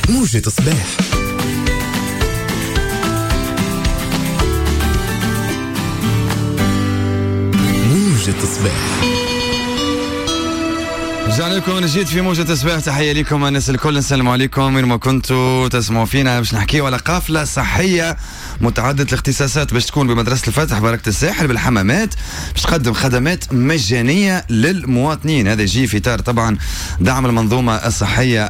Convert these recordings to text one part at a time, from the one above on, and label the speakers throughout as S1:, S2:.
S1: موجة صباح. موجة صباح.
S2: رجعنا لكم من جديد في موجة صباح. تحية لكم الناس الكل، نسلم عليكم وين ما كنتوا تسمعوا فينا. باش نحكيو على قافلة صحية متعددة الاختصاصات باش تكون بمدرسة الفتح بركة الساحل بالحمامات، باش تقدم خدمات مجانية للمواطنين. هذا يجي في إطار طبعا دعم المنظومة الصحية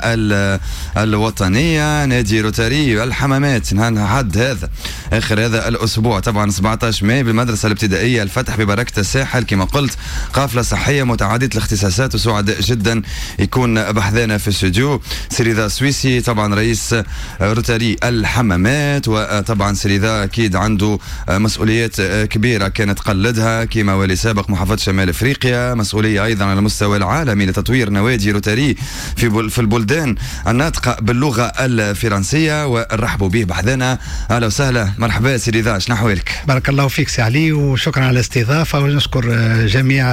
S2: الوطنية. نادي روتاري الحمامات حد هذا آخر هذا الأسبوع طبعا 17 ماي بالمدرسة الابتدائية الفتح ببركة الساحل، كما قلت قافلة صحية متعددة الاختصاصات، وسعداء جدا يكون بحذانا في الاستوديو سي رضا سويسي طبعا رئيس روتاري الحمامات، وطبعا سي رضا اكيد عنده مسؤوليات كبيرة كانت قلدها كما والي سابق محافظة شمال افريقيا، مسؤولية ايضا على المستوى العالمي لتطوير نوادي روتاري في البلدان الناطقة باللغة الفرنسية، ونرحبوا به بحذانا. اهلا وسهلا، مرحبا سي رضا، شنو احوالك؟
S3: بارك الله فيك سي علي، وشكرا على الاستضافة، ونشكر جميع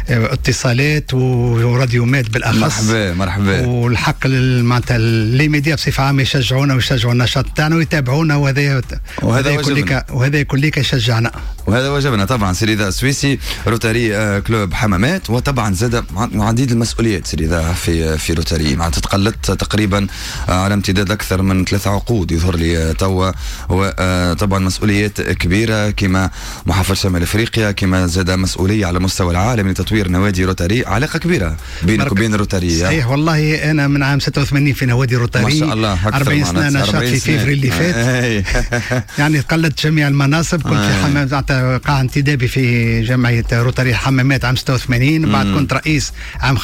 S3: اتصالات وراديو ماد بالاخص.
S2: مرحبا مرحبا.
S3: والحق معناتها les médias بصفة عامة يشجعونا ويشجعوا النشاط تاعنا ويتابعونا، وهذا كل يشجعنا
S2: وهذا واجبنا طبعا. سي رضا السويسي روتاري club حمامات، وطبعا زاد عديد المسؤوليات سي رضا في روتاري، معناتها تقلدت تقريبا على امتداد اكثر من 3 عقود يظهر لي توا، وطبعا مسؤوليات كبيرة كما محافظة شمال افريقيا، كما زاد مسؤولية على المستوى العالمي لتطوير نوادي روتاري. علاقة كبيرة بينك وبين روتاري.
S3: صحيح والله، انا من عام 86 في نوادي روتاري،
S2: ما شاء الله
S3: 40 سنة نشاط في فيفري اللي فات. يعني قلدت جميع المناصب، كنت في حمام قاع انتدابي في جمعية روتاري حمامات عام 86، بعد كنت رئيس عام